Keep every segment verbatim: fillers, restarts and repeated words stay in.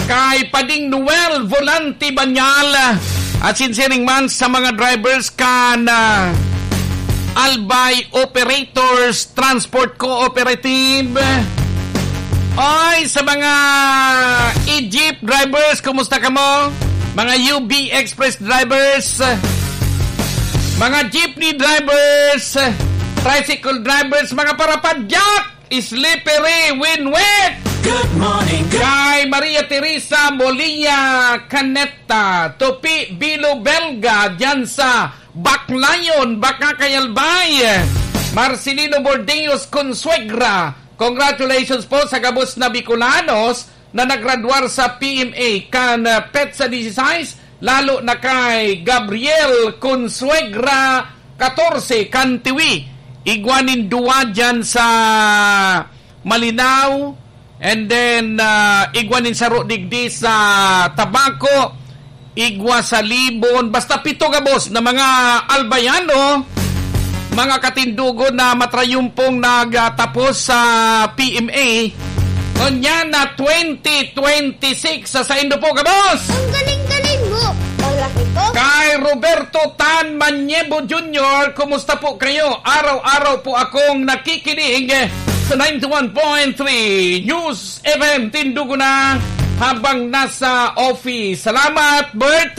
kay Pading Noel Volante Banyal, at sinsiring man sa mga drivers kan, ah, Albay Operators Transport Cooperative. Oy, sa mga e-jeep drivers, kumusta kamo? Mga U B Express drivers, mga jeepney drivers, tricycle drivers, mga parapadyak, slippery, winwit. Good morning, good Kay Maria Teresa Molina Caneta, Tupi Bilo Belga, dyan sa Baclayon, Bacacay, Albay. Marcelino Bordeos Consuegra, congratulations po sa gabos na Bicolanos na nagradwar sa P M A kan, ah, petsa dieciséis, lalo na kay Gabriel Consuegra, katorse, kan Tiwi. Igwa nin duwa dyan sa Malinao, and then, ah, igwa nin saro digdi sa Tabaco, igwa sa Libon, basta pito gabos na mga Albayano, mga katindogon na matrayumpong nagtapos sa P M A. Unya na twenty twenty-six sa saindo po gabos. Ang galing-galing mo. Palaki ko. Kay Roberto Tan Maniebo Junior, kumusta po kayo? Araw-araw po akong nakikinig sa ninety-one point three News F M Tindugo na habang nasa office. Salamat, Bert.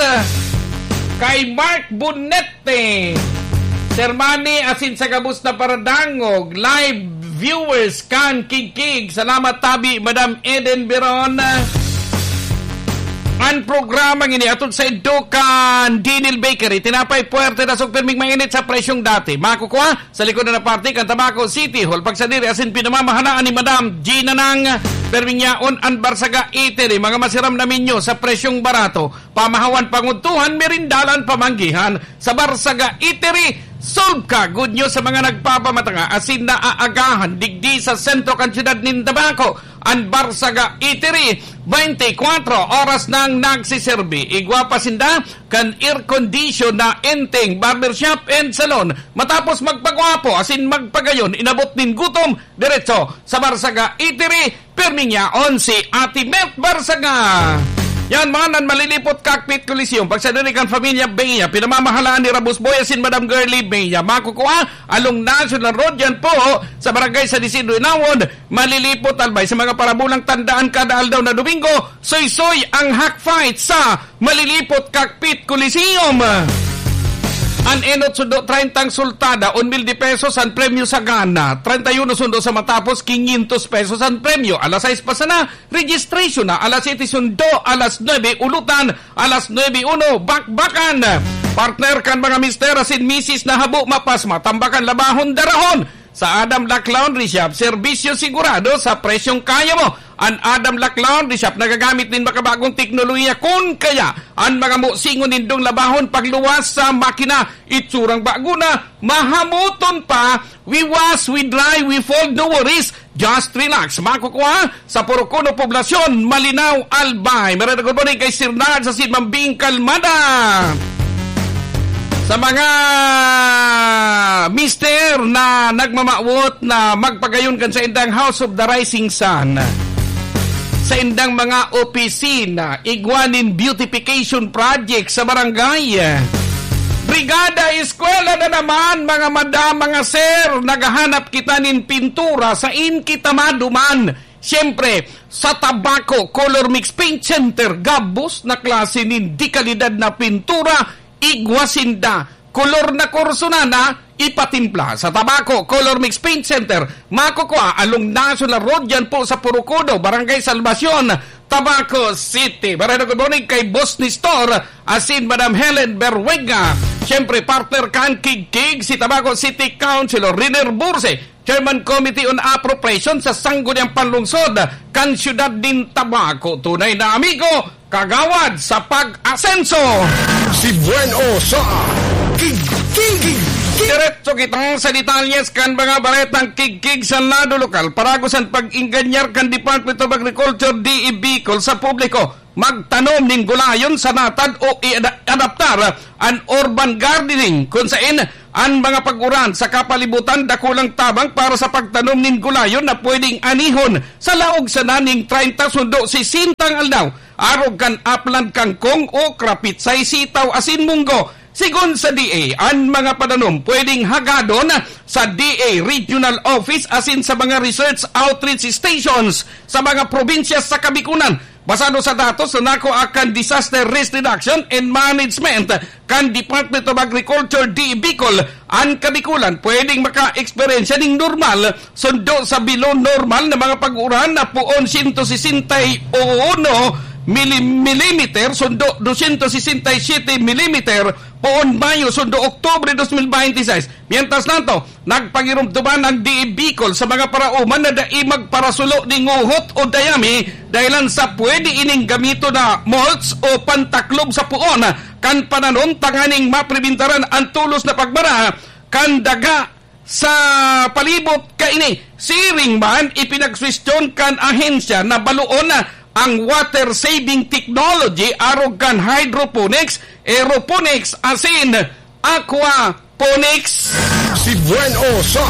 Kay Mark Bonete, Sir Manny, asin sa gabos na paradangog, live viewers kan Kigkig. Salamat tabi, Madam Eden Beron. An programa ngini atod sa indo kan Dinil Bakery. Tinapay puwerte, dasog pirming mainit sa presyong dati. Makukuha sa likod na parte kan Tabaco City Hall. Pagsadiri asin pinamamahalaan ni Madam Gina Nang, perming yaon an Barsaga Eatery, mga masiram na menyo sa presyong barato. Pamahawan, pangudtuhan, merindalan, pamanggihan sa Barsaga Eatery. Solve ka! Good news sa mga nagpapamatanga asin naaagahan digdi sa sentro kan siyudad nin Tabaco. An Barsaga Eatery, twenty-four oras nang nagsiserbi. Igwa pa sinda kan air condition na enteng, barbershop and salon. Matapos magpagwapo asin magpagayon, inabot nin gutom, diretso sa Barsaga Eatery, pirming yaon si Ate Met Barsaga. Yan man an Malilipot Cockpit Coliseum. Pagsadiri kan Familia Bea, pinamamahalaan ni Rabus Boy asin Madam Girlie Bea. Makukuha along National Road yan po sa Barangay San Isidro Inawon, Malilipot, Albay. Sa mga parabulang tandaan, kada aldaw na Domingo, soy-soy ang Hack Fight sa Malilipot Cockpit Coliseum. An enot sundo, treinta ang sultada, un mil de pesos an premyo sa gana. Treinta y uno sundo sa matapos, quinientos pesos an premyo. Alas sais pa sana, registration na. Alas siyete sundo, alas nuebe ulutan, alas nuebe uno bakbakan. Partner kan mga mister asin misis na habo mapas, matambakan, labahon, darahon. Sa Adam Lac Laundry Shop, serbisyo sigurado sa presyong kaya mo. An Adam Lac Laundry Shop nagagamit nin makabagong teknolohiya. Kun kaya, an mga musingon nindong labahon, pagluwas sa makina, itsurang bago na, mahamuton pa, we wash, we dry, we fold, no worries, just relax. Makukuha sa Purok Uno Poblacion, Malinao, Albay. Marada ko po ni kay Sir Nard sa Sidmambing Kalmada. Sa mga mister na nagmamawot na magpagayon kan saindang House of the Rising Sun, saindang mga opisina, igwa nin beautification project sa barangay, brigada, eskwela na naman, mga madam, mga sir, naghahanap kita nin pintura, sain kita maduman? Siyempre, sa Tabaco Color Mix Paint Center, gabos na klase nin de-kalidad na pintura, igwa sinda, kolor na kurso na, na ipatimpla. Sa Tabaco Color Mix Paint Center, makukuha along National Road, yan po sa Purok Uno, Barangay Salvacion, Tabaco City. Maray na good morning kay Boss Nestor, asin Madam Helen Berwega. Siyempre, partner kan Kigkig, si Tabaco City Councilor Riner Burse, Chairman Committee on Appropriation sa Sangguniang Panlungsod kan Siyudad nin Tabaco. Tunay na amigo, kagawad sa pag-asenso. Si Bueno sa Kigkig. Diretso kita sa detalyes kan mga baretang Kigkig sa lado lokal. Parago san pag-inganyar kan Department of Agriculture, D E Bicol, sa publiko magtanom nin gulayon sa natad o i-ada-, adaptar an urban gardening, kun sain an mga pag-uran sa kapalibutan dakulang tabang para sa pagtanom nin gulayon na pwedeng anihon sa laog sana ning treinta sundo sesentang aldaw, arog kan aplan, kangkong, okra, pitsay, sitaw asin munggo. Sigon sa D A, an mga pananom pwedeng hagadon sa D A Regional Office asin sa mga research outreach stations sa mga probinsya sa Kabikulan. Basado sa datos na nakuha kan Disaster Risk Reduction and Management kan Department of Agriculture, D A Bicol, an Kabikulan pwedeng maka-eksperyensya ning normal sundo sa below normal na mga pag-uran na poon sento sesenta y uno mili-, milimeter, sundo dosyentos sesenta y siyete milimeter, poon Mayo, sundo Oktubre dos mil bente y seis. Mientras tanto, nagpangirumtuman ang D A Bicol sa mga paraoman na dai magparasulo nin nguhot o dayami dahilan sa pwede ining gamiton na mulch o pantaklob sa poon kan pananom tanganing mapribentaran ang tulos na pagbara kan daga sa palibot kaini. Siring man, ipinagsuwestiyon kan ahensya na baloon ang water saving technology arog kan hydroponics, aeroponics asin aquaponics. Si Bueno sa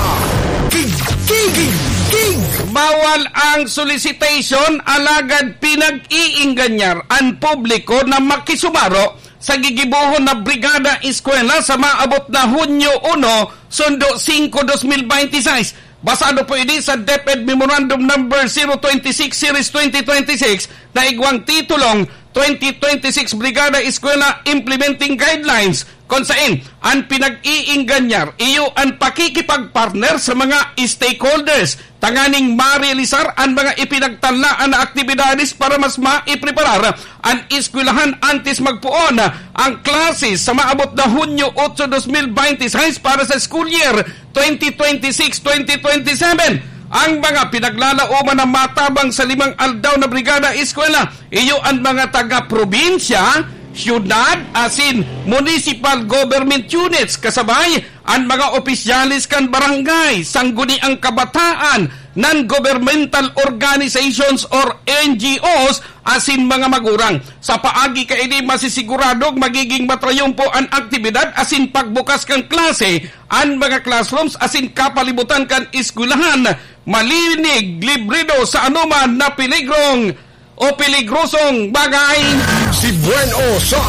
King, King, King, King. Bawal ang solicitation, alagad pinag-iingganyar an publiko na makisumaro sa gigibohon na Brigada Eskwela sa maabot na Hunyo uno, sundo singko, dos mil bente y seis. Basado po ini sa DepEd Memorandum Number zero twenty-six Series twenty twenty-six na igwang titulong Twenty twenty-six Brigada Eskwela Implementing Guidelines, kun sain an pinag-iingganyar iyo an pakikipagpartner sa mga stakeholders tanganing marealisar an mga ipinagtalaan na aktibidades para mas maipreparar an eskwelahan antes magpoon ang klase sa maabot na Hunyo otso, dos mil bente y seis para sa school year twenty twenty-six, twenty twenty-seven. Ang mga pinaglalaoman na matabang sa limang aldaw na Brigada Eskwela, iyo an mga taga-probinsya, syudad, asin municipal government units, kasabay an mga opisyales kan barangay, sangguniang kabataan, non-governmental organizations or N G Os, asin mga magurang. Sa paagi kaini, masisiguradong magiging matrayumpo an aktibidad asin pagbukas kan klase, an mga classrooms asin kapalibutan kan eskwelahan malinig, librido sa anoman na peligrong o peligrosong bagay. Si Bueno sa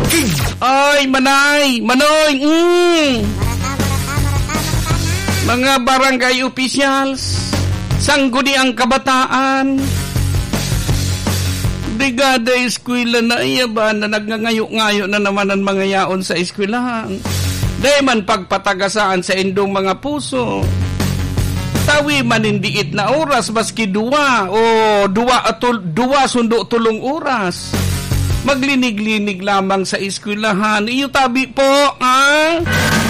King. Ay, manay, manoy, mm. Mga barangay officials, sangguniang kabataan, Brigada Eskwela na iya ba na nagngangayo-ngayo na naman ang mga yaon sa eskwelahan? Dai man pagpatagasaan sa indong mga puso. Tawi man nin diit na oras, maski duwa o duwa atul-, duwa sundo tolong oras. Maglinig-linig lamang sa eskwelahan. Iyo tabi po, ah?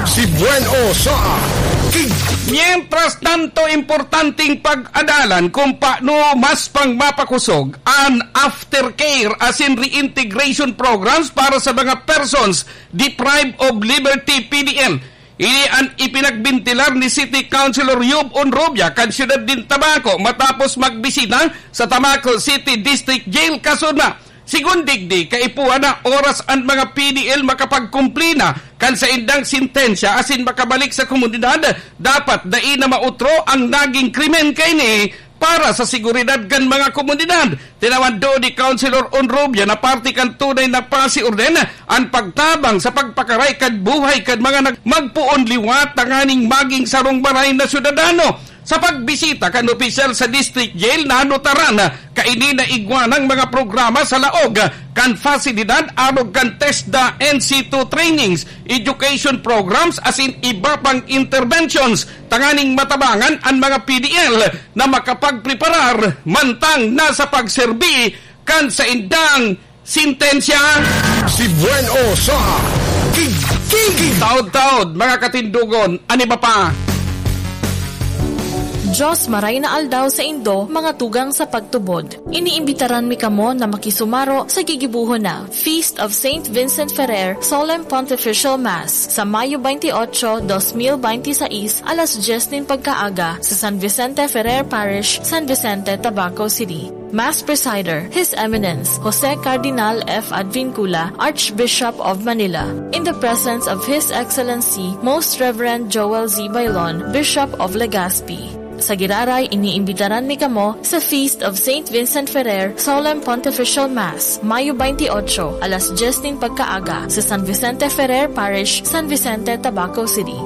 Si Bueno sa King. Mientras tanto, importanteng pag-adalan kung paano mas pang mapakusog an aftercare asin reintegration programs para sa mga persons deprived of liberty, P D L. Ini an ipinagbentilar ni City Councilor Yub Onrubia kan siyudad nin Tabaco matapos magbisita sa Tabaco City District Jail kasunod. Sigon digdi, kaipuhan na oras an mga P D L makapagkumpli na kan saindang sentensya asin makabalik sa komunidad. Dapat dai na maotro ang naging krimen kaini para sa seguridad kan mga komunidad. Tinawan duon ni Councilor Onrubia na parte kan tunay na pasiorden an pagtabang sa pagpakaray kan buhay kan mga nag-, magpoon liwat tanganing maging sarong maray na syudadano. Sa pagbisita kan opisyal sa District Jail, nanotaran kaini na igwa nang mga programa sa laog kan pasilidad arog kan TESDA N C two trainings, education programs, asin iba pang interventions tanganing matabangan an mga P D L na makapagpreparar mantang nasa pagserbi kan saindang sentensya. Si Bueno sa King, King, King. Taod-taod, mga katindogon, an iba pa. Diyos maray na aldaw sa indo, mga tugang sa pagtubod. Iniimbitaran mi kamo na makisumaro sa gigibohon na Feast of Saint Vincent Ferrer Solemn Pontifical Mass sa Mayo twenty-eight, dos mil binte y seis, alas dyes nin pagkaaga sa San Vicente Ferrer Parish, San Vicente, Tabaco City. Mass Presider, His Eminence Jose Cardinal F. Advincula, Archbishop of Manila, in the presence of His Excellency Most Reverend Joel Z. Bailon, Bishop of Legazpi. Sa giraray, iniimbitaran mi kamo sa Feast of Saint Vincent Ferrer Solemn Pontifical Mass, Mayo twenty-eight, alas dyes nin pagkaaga, sa San Vicente Ferrer Parish, San Vicente, Tabaco City.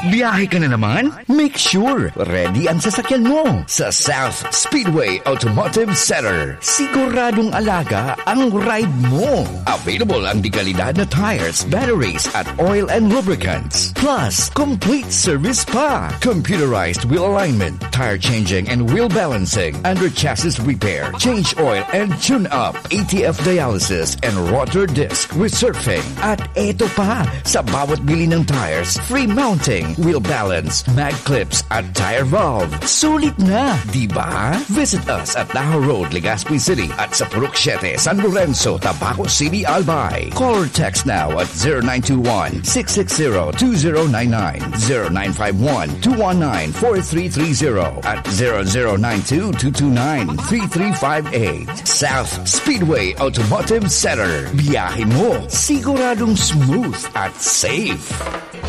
Biyahe ka na naman? Make sure ready ang sasakyan mo. Sa South Speedway Automotive Center, siguradong alaga ang ride mo. Available ang dekalidad na tires, batteries at oil and lubricants. Plus, complete service pa. Computerized wheel alignment, tire changing and wheel balancing, under chassis repair, change oil and tune up, A T F dialysis and rotor disc resurfacing. At eto pa, sa bawat bili ng tires, free mounting, wheel balance, mag clips at tire valve. Sulit na, di ba? Visit us at Tajo Road, Legazpi City at sa Purok Siete, San Lorenzo, Tabaco City, Albay. Call or text now at zero nine two one, six six zero, two zero nine nine, zero nine five one, two one nine, four three three zero at zero zero nine two, two two nine, three three five eight. South Speedway Automotive Center. Biyahe mo, siguradong smooth at safe.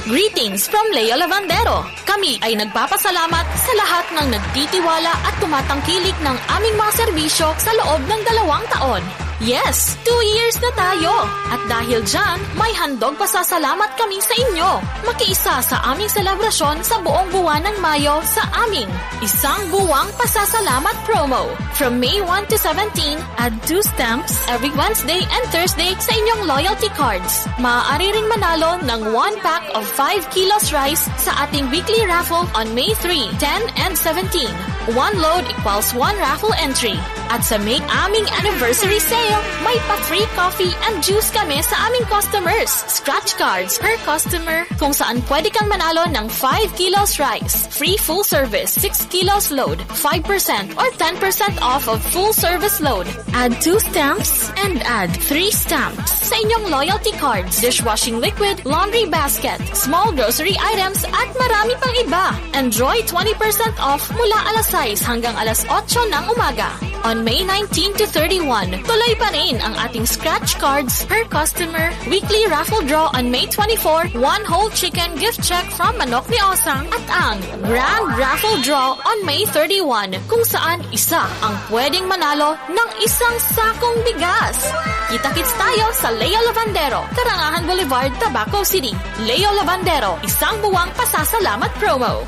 Greetings from Leo Lavandero. Kami ay nagpapasalamat sa lahat ng nagtitiwala at tumatangkilik ng aming mga serbisyo sa loob ng dalawang taon. Yes, two years na tayo! At dahil dyan, may handog pasasalamat kami sa inyo. Makiisa sa aming selebrasyon sa buong buwan ng Mayo sa aming Isang Buwang Pasasalamat Promo. From May one to seventeen, add two stamps every Wednesday and Thursday sa inyong loyalty cards. Maaari ring manalo ng one pack of five kilos rice sa ating weekly raffle on May three, ten, and seventeen. One load equals one raffle entry. At sa May aming anniversary sale, may pa-free coffee and juice kami sa aming customers. Scratch cards per customer, kung saan pwede kang manalo ng five kilos rice, free full service, six kilos load, five percent or ten percent off of full service load. Add two stamps and add three stamps sa inyong loyalty cards, dishwashing liquid, laundry basket, small grocery items, at marami pang iba. Enjoy twenty percent off mula alas sais hanggang alas otso ng umaga. On May nineteen to thirty-one, tuloy pa rin ang ating scratch cards per customer, weekly raffle draw on May twenty-four, one whole chicken gift check from Manok ni Osang, at ang grand raffle draw on May thirty-one, kung saan isa ang pwedeng manalo ng isang sakong bigas. Kita-kits tayo sa Leo Lavandero, Karangahan Boulevard, Tabaco City. Leo Lavandero, Isang Buwang Pasasalamat Promo.